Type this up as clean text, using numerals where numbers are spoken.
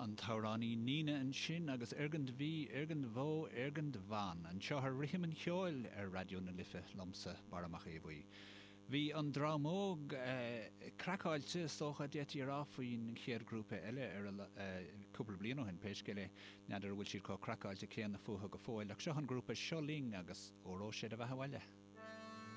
An t-amhránaí Nina ansin agus Irgend Bhí, Irgend Bhó, Irgend Bhan, anseo ar Rithim an Cheoil ar Raidió na Life liomsa, Barra Mac Aodha Bhuí. Bhí an dream óg craiceáilte, is dócha, d'fhéadfaí a rá, faoin chéad ghrúpa eile ar a cúpla bliain ó shin, pé scéal é. N'fheadar an bhfuil siad chomh craiceáilte céanna fúthu go fóill, ach seo an grúpa Seo Linn agus Óró Sé do Bheatha Abhaile.